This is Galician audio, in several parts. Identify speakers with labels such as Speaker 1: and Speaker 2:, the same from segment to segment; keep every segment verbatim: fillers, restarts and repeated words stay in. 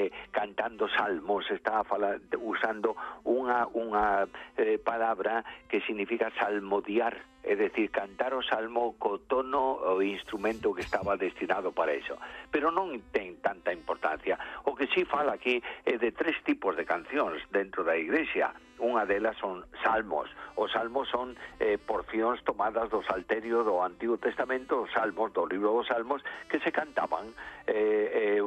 Speaker 1: eh, cantando salmos, está fala, usando unha, unha eh, palabra que significa salmodiar, é dicir, cantar o salmo co tono o instrumento que estaba destinado para eso. Pero non ten tanta importancia. O que sí fala aquí é de tres tipos de cancións dentro da iglesia. Unha delas son salmos. Os salmos son eh, porcións tomadas do Salterio do Antigo Testamento, os salmos do libro dos salmos, que se cantaban eh, eh,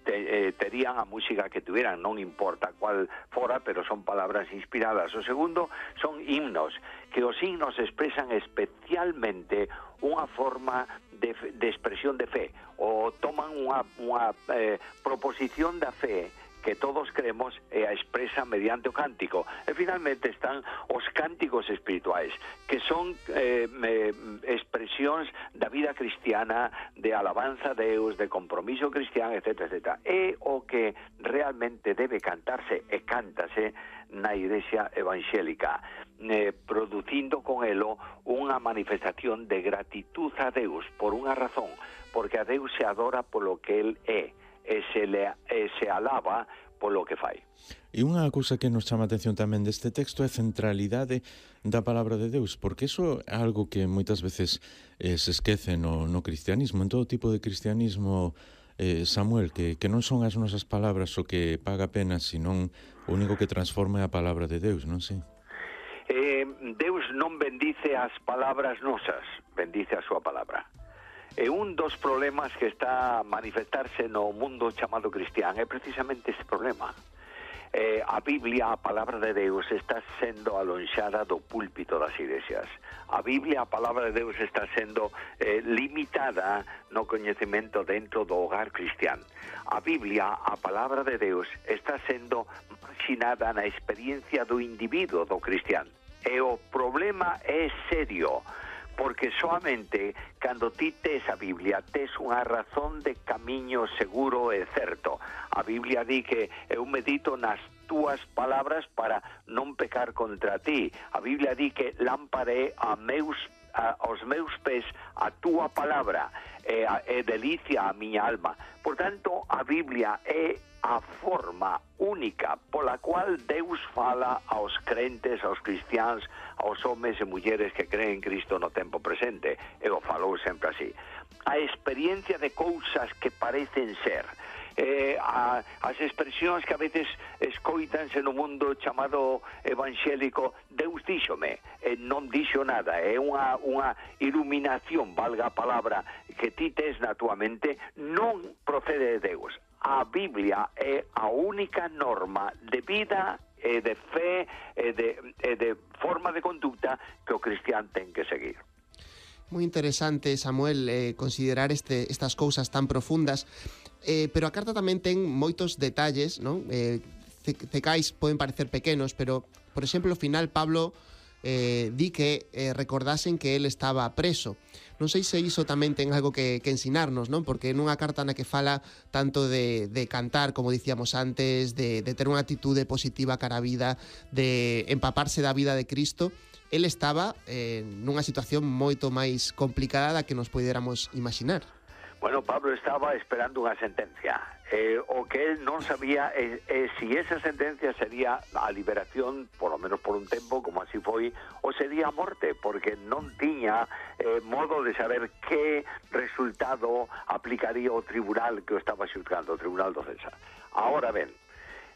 Speaker 1: te, eh, terían a música que tuvieran, non importa cual fora, pero son palabras inspiradas. O segundo son himnos, que os himnos expresan especialmente unha forma de, de expresión de fe, ou toman unha, unha eh, proposición da fe que todos creemos e a expresa mediante o cántico. E finalmente están os cánticos espirituais, que son eh, me, expresións da vida cristiana, de alabanza a Deus, de compromiso cristiano, etcétera, etcétera. É o que realmente debe cantarse e cántase na iglesia evangélica, eh, producindo con elo unha manifestación de gratitud a Deus por unha razón, porque a Deus se adora polo que Él é, e se, le, e se alaba polo que fai.
Speaker 2: E unha cousa que nos chama a atención tamén deste texto é a centralidade da palabra de Deus, porque iso é algo que moitas veces eh, se esquece no, no cristianismo, en todo tipo de cristianismo, eh, Samuel, que, que non son as nosas palabras o que paga pena, senón o único que transforma é a palabra de Deus, non sei?
Speaker 1: Eh, Deus non bendice as palabras nosas, bendice a súa palabra. E un dos problemas que está a manifestarse no mundo chamado cristián é precisamente este problema. Eh, a Biblia, a palabra de Deus, está sendo alonxada do púlpito das iglesias. A Biblia, a palabra de Deus, está sendo eh, limitada no coñecemento dentro do hogar cristián. A Biblia, a palabra de Deus, está sendo marxinada na experiencia do individuo do cristián. E o problema é serio, porque solamente cando ti tes a Biblia tes unha razón de camiño seguro e certo. A Biblia di que eu medito nas túas palabras para non pecar contra ti. A Biblia di que lámpara é a meus, a, aos meus pés a túa palabra, e, a, e delicia a miña alma. Por tanto, a Biblia é a forma única pola cual Deus fala aos crentes, aos cristiáns, aos homens e mulleres que creen en Cristo no tempo presente. E o falou sempre así. A experiencia de cousas que parecen ser, eh, a, as expresións que a veces escoitanse no mundo chamado evangélico, Deus díxome, e non dixo nada, é unha, unha iluminación, valga a palabra, que ti tes na tua mente, non procede de Deus. A Biblia é a única norma de vida e de fe e de, e de forma de conducta que o cristián ten que seguir.
Speaker 3: Moi interesante, Samuel, eh, considerar este, estas cousas tan profundas, eh, pero a carta tamén ten moitos detalles, non? Eh, cecais poden parecer pequenos, pero, por exemplo, ao final Pablo eh, di que eh, recordasen que él estaba preso. Non sei se iso tamén ten algo que, que ensinarnos, non? Porque nunha carta na que fala tanto de, de cantar, como dicíamos antes, de, de ter unha atitude positiva cara a vida, de empaparse da vida de Cristo, él estaba eh, nunha situación moito máis complicada da que nos poidéramos imaginar.
Speaker 1: Bueno, Pablo estaba esperando unha sentencia. Eh, o que él non sabía é eh, eh, si esa sentencia sería a liberación, por lo menos por un tempo, como así foi, ou sería a morte, porque non tiña eh, modo de saber que resultado aplicaría o tribunal que o estaba xulgando, o tribunal do César. Ahora ben,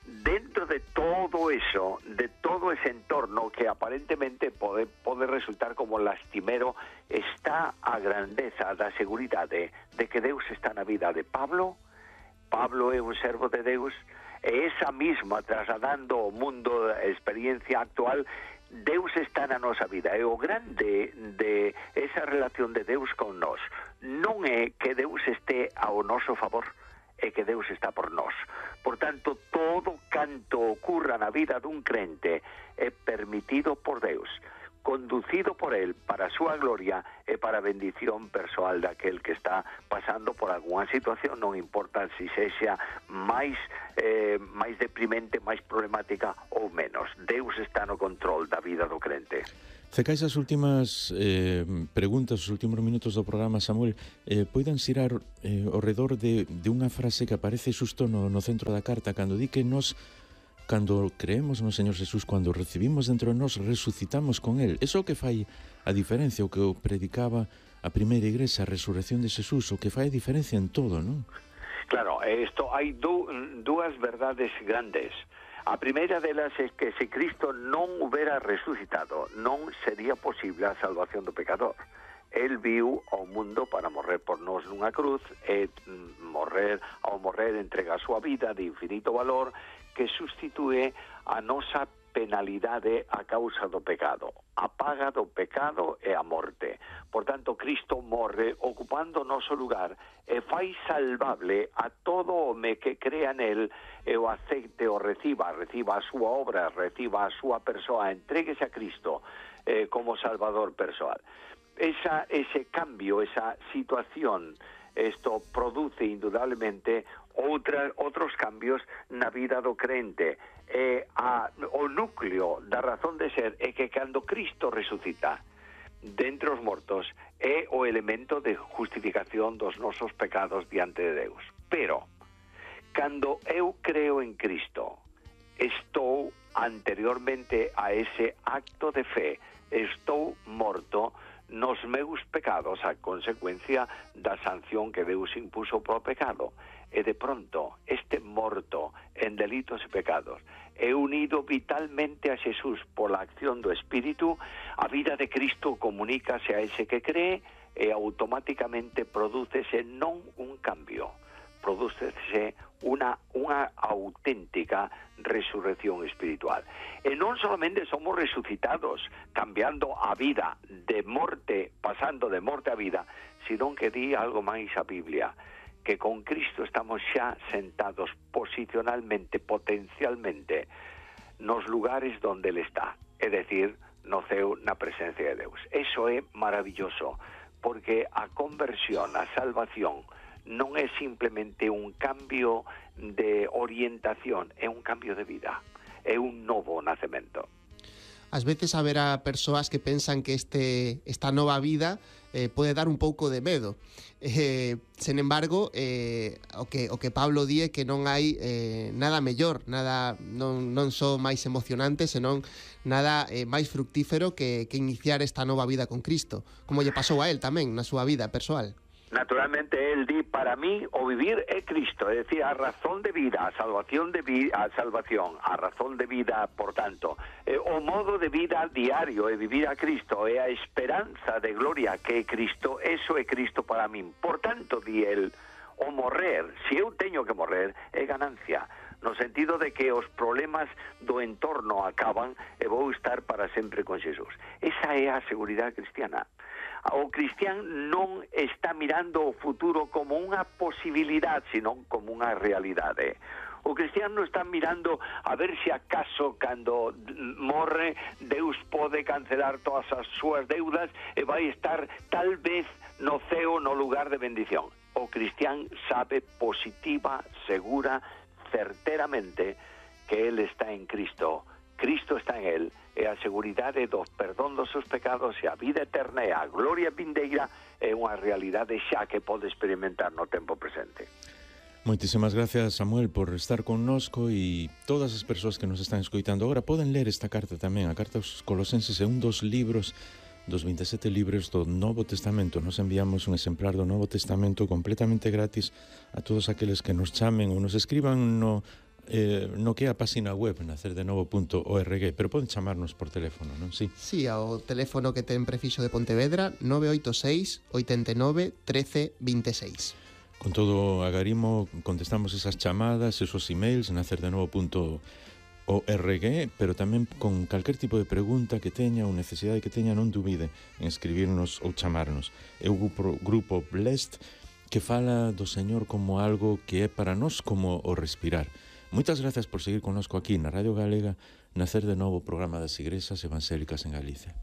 Speaker 1: dentro de todo eso, de todo ese entorno que aparentemente pode, pode resultar como lastimero, está a grandeza da seguridade de que Deus está na vida de Pablo. Pablo é un servo de Deus, e esa misma trasladando ao mundo a experiencia actual, Deus está na nosa vida. E o grande de esa relación de Deus con nós non é que Deus este ao noso favor, é que Deus está por nós. Por tanto, todo canto ocurra na vida dun crente é permitido por Deus. conducido por él para súa gloria e para a bendición persoal daquel que está pasando por algunha situación, non importa se sexa máis eh, máis deprimente, máis problemática ou menos. Deus está no control da vida do crente.
Speaker 2: Cecais as últimas eh, preguntas, os últimos minutos do programa, Samuel, eh, poidan xirar eh, ao redor de, de unha frase que aparece xusto no, no centro da carta, cando di que nos, cando creemos no Señor Jesús, cando recibimos dentro de nós, resucitamos con Él. Eso que fai a diferencia, o que o predicaba a primeira igrexa, a resurrección de Jesús, o que fai a diferencia en todo, non?
Speaker 1: Claro, isto hai du, dúas verdades grandes. A primeira delas é que se Cristo non hubera resucitado, non sería posible a salvación do pecador. El viu ao mundo para morrer por nós nunha cruz e morrer, ao morrer entrega a súa vida de infinito valor que sustitúe a nosa penalidade a causa do pecado. A paga do pecado é a morte. Por tanto, Cristo morre ocupando o noso lugar e fai salvable a todo home que crea nel e o aceite o reciba, reciba a súa obra, reciba a súa persoa, entréguese a Cristo eh, como salvador persoal. Esa, ese cambio, esa situación, esto produce indudablemente outra, outros cambios na vida do crente. E a, o núcleo da razón de ser é que cando Cristo resucita dentre os mortos é o elemento de justificación dos nosos pecados diante de Deus. Pero, cando eu creo en Cristo, estou anteriormente a ese acto de fe, estou morto nos meus pecados a consecuencia da sanción que Deus impuso pro pecado. E de pronto, este morto en delitos e pecados é unido vitalmente a Jesús por la acción do Espírito, a vida de Cristo comunícase a ese que cree e automáticamente prodúcese non un cambio, prodúcese unha, unha auténtica resurrección espiritual. E non solamente somos resucitados, cambiando a vida de morte, pasando de morte a vida, sino que di algo máis a Biblia, que con Cristo estamos xa sentados posicionalmente, potencialmente, nos lugares donde Él está, é dicir, no ceo, na presencia de Deus. Eso é maravilloso, porque a conversión, a salvación, non é simplemente un cambio de orientación, é un cambio de vida, é un novo nacemento.
Speaker 3: Ás veces haberá persoas que pensan que este esta nova vida eh, pode dar un pouco de medo. Eh, sen embargo, eh, o que o que Pablo di é que non hai eh, nada mellor, nada non non só máis emocionante, senón nada eh, máis fructífero que que iniciar esta nova vida con Cristo, como lle pasou a él tamén na súa vida persoal.
Speaker 1: Naturalmente, él di, para mí, o vivir é Cristo, es decir, a razón de vida, a salvación de vida, a salvación, a razón de vida, por tanto, eh, o modo de vida diario é vivir a Cristo, é a esperanza de gloria que é Cristo, eso é Cristo para mí. Por tanto, di él, o morrer, se eu teño que morrer, é ganancia, no sentido de que os problemas do entorno acaban e vou estar para sempre con Jesús. Esa é a seguridade cristiana. O cristián non está mirando o futuro como unha posibilidade, sino como unha realidade. O cristián non está mirando a ver se acaso cando morre Deus pode cancelar todas as súas deudas e vai estar tal vez no ceo no lugar de bendición. O cristián sabe positiva, segura, certeramente que él está en Cristo, Cristo está en él, e a seguridade do perdón dos seus pecados e a vida eterna e a gloria vindeira é unha realidade xa que pode experimentar no tempo presente.
Speaker 2: Moitísimas gracias, Samuel, por estar connosco, e todas as persoas que nos están escoitando agora poden ler esta carta tamén. A carta aos Colosenses é un dos libros dos veinte e sete libros do Novo Testamento. Nos enviamos un exemplar do Novo Testamento completamente gratis a todos aqueles que nos chamen ou nos escriban no Eh, no que é a página web nacer de novo punto org, pero poden chamarnos por teléfono, non? Sí.
Speaker 3: Sí, ao teléfono que ten prefixo de Pontevedra, nove oito seis, oito nove, un tres, dos seis.
Speaker 2: Con todo agarimo contestamos esas chamadas, esos emails, nacer de novo punto org, pero tamén con calquer tipo de pregunta que teña ou necesidade que teña, non dubide en escribirnos ou chamarnos. É o grupo, grupo Blessed, que fala do Señor como algo que é para nós como o respirar. Moitas gracias por seguir connosco aquí na Radio Galega, Nacer de Novo, programa das Igrexas Evangélicas en Galicia.